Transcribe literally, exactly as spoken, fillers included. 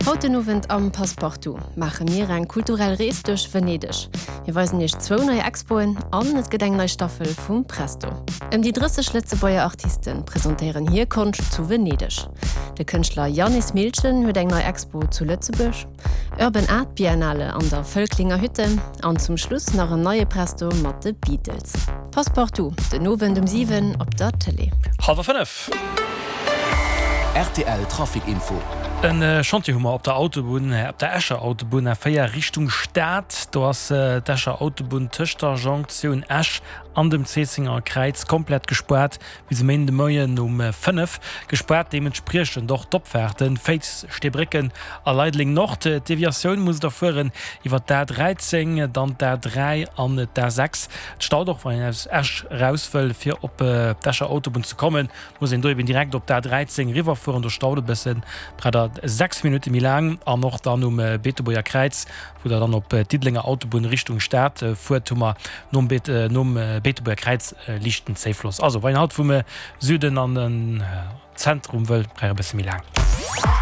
Haut den Owend am Passepartout maache mir eng kulturell Rees duerch Venedeg. Mir weisen iech zwou nei Expoen an et gëtt eng nei Staffel vum Presto. Ëm déi drësseg Lëtzebuerger Artiste presentéieren hir Konscht zu Venedeg. De Kënschtler Yannis Milchen huet eng nei Expo zu Lëtzebuerg, Urban Art Biennale an der Völklinger Hütte an zum Schluss nach en neie Presto mat de Beatles. Passepartout, den Owend um siwen op der Tëlee. Hallwer fënnef. Rtl Trafic Info. En Chantier hu mer op der Autobunn, op der Escher Autobunn A véier Richtung Stad. Do ass d'Escher Autobunn tëscht der Jonktioun Esch an dem Zéissenger Kräiz komplett gespaart bis e Méinden de Moien um fënnef. Gespaart deementspriechend och d'Opfaarten Féiz, Steebrécken a Leideleng Nord. D'Deviatioun musst der fueren iwwer d'A dräizéng, dann d'A dräi an d'A sechs. Et staut och wann een aus Esch eraus wëll fir op d'Escher Autobunn ze kommen, muss een do eben direkt op d'A dräizéng eriwwer fueren, do staut e bëssen, braucht der sechs Minutte méi laang. An och dann um Beetebuerger Kräiz, wou der dann op d'Diddelenger Autobunn Richtung Stad fuert, hu mer nom Beetebuerger Kräiz e liichten Zéifloss. Also wann een haut vum Süden an den Zentrum wëll, brauch e bësse méi laang.